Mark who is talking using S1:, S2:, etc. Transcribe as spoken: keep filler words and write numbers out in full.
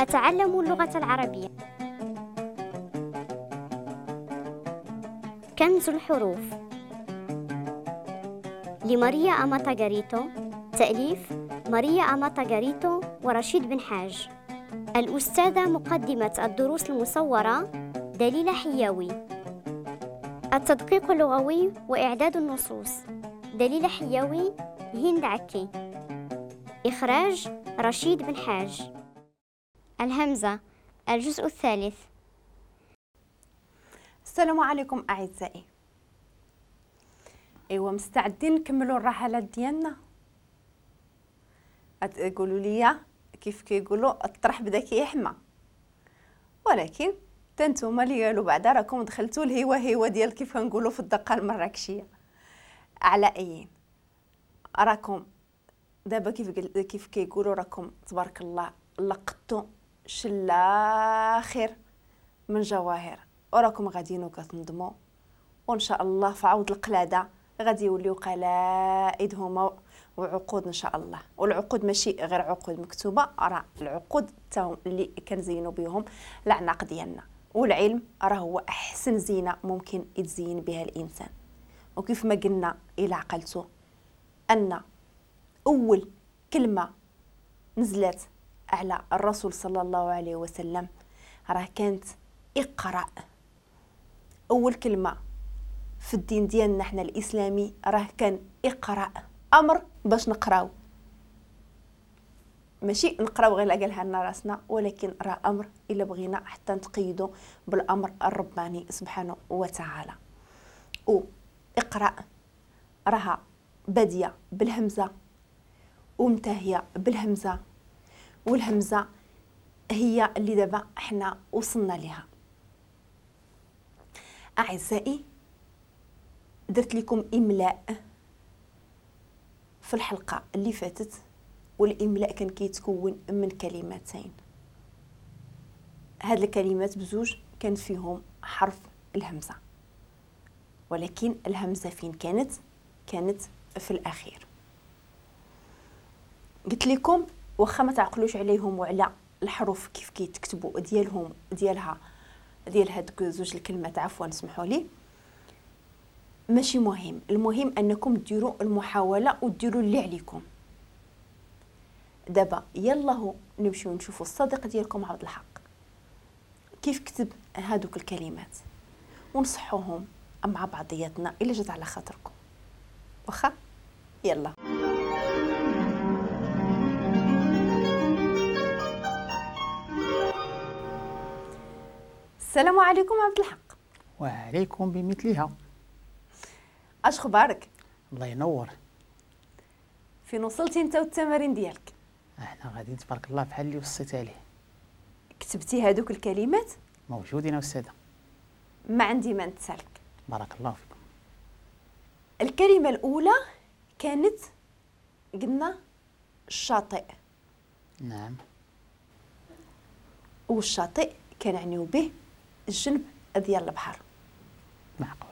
S1: أتعلم اللغة العربية. كنز الحروف لماريا أماتا غاريتو، تأليف ماريا أماتا غاريتو ورشيد بن حاج. الأستاذة مقدمة الدروس المصورة دليلة حياوي. التدقيق اللغوي وإعداد النصوص دليلة حياوي، هند عكي. إخراج رشيد بن حاج. الهمزة، الجزء الثالث.
S2: السلام عليكم أعزائي. ايوا مستعدين نكملوا الرحلات ديالنا؟ تقولوا لي كيف كيقولوا الطرح بدا كيحمى، ولكن تنتوما اللي قالوا بعدا راكم دخلتوا الهوا هوا ديال كيف كنقولوا في الدقة المراكشيه. على ايين راكم دابا كيف كيف كيقولوا راكم تبارك الله لقطتوا شلاخر من جواهر، وراكم غاديين وكتنضموا، وان شاء الله في عوض القلادة غادي يوليو قلائد هما وعقود ان شاء الله. والعقود ماشي غير عقود مكتوبة، راه العقود تا اللي كنزينوا بهم العناق ديالنا. والعلم راه هو احسن زينة ممكن يتزين بها الانسان. وكيف ما قلنا الى عقلتو ان اول كلمة نزلت على الرسول صلى الله عليه وسلم راه كانت اقرأ. اول كلمة في الدين ديالنا حنا الاسلامي راه كان اقرأ، امر باش نقراو، ماشي نقراو غير قالها لنا راسنا، ولكن راه امر الا بغينا حتى نتقيدوا بالامر الرباني سبحانه وتعالى. و اقرأ راها باديه بالهمزه ومنتهيه بالهمزه، والهمزة هي اللي دابا حنا وصلنا لها. اعزائي درت لكم املاء في الحلقة اللي فاتت، والاملاء كان كيتكون من كلمتين. هاد الكلمات بزوج كان فيهم حرف الهمزة، ولكن الهمزة فين كانت؟ كانت في الاخير. قلت لكم واخا ما تعقلوش عليهم وعلى الحروف كيف كيتكتبوا ديالهم ديالها ديال هاد زوج الكلمات، عفوا سمحوا لي، ماشي مهم. المهم انكم ديروا المحاولة وديروا اللي عليكم. دابا يلا نمشيو نشوفوا الصديق ديالكم عبد الحق كيف كتب هادوك الكلمات ونصحوهم مع بعضياتنا الا جات على خاطركم. واخا يلا. السلام عليكم عبد الحق.
S3: وعليكم بمثلها.
S2: اش خبارك؟
S3: الله ينور.
S2: فين وصلتي انت والتمارين ديالك؟
S3: احنا غاديين تبارك الله بحال اللي وصيت عليه.
S2: كتبتي هادوك الكلمات؟
S3: موجودين استاذه.
S2: ما عندي ما نتسالك.
S3: بارك الله فيكم.
S2: الكلمة الاولى كانت قلنا الشاطئ.
S3: نعم.
S2: والشاطئ كنعنيو به الجنب ديال البحر.
S3: معقول.